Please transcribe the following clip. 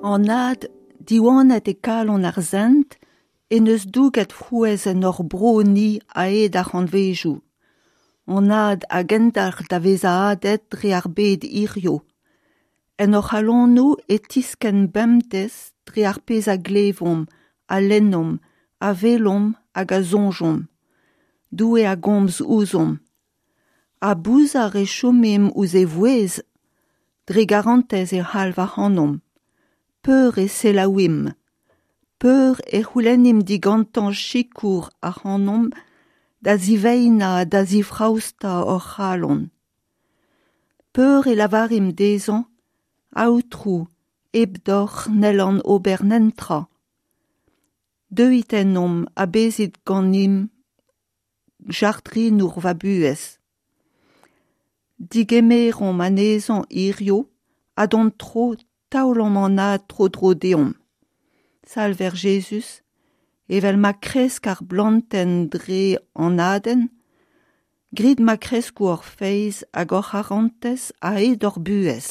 An had diwanet e kalon ar sent en deus douget frouezh en hor bro-ni a-hed ar c'hantvedoù. An had a gendalc'h da vezañ hadet dre ar bed hiziv. En hor c'halonoù e tiskenn bemdez dre ar pezh a glevomp, a lennomp, a welomp hag a soñjomp. Doue a gomz ouzhomp. Ha bouzar e chomimp ouzh e vouezh? Dre garantez e c'halv ac'hanomp. Peur e selaouimp ? Peur e c'houlennimp digantañ sikour ac'hanomp da ziveinañ ha da zifraostañ hor c'halon ? Peur e lavarimp dezhañ Aotrou, hepdoc'h n'hellan ober netra. Deuit ennomp ha bezit ganimp jardrinour va buhez. Degemeromp anezhañ hiziv ha d'hon tro taolomp an had tro-dro deomp. Salver Jezuz, evel ma kresk ar blantenn dre an hadenn, grit ma kresko hor feiz hag hor c'harantez a-hed hor buhez.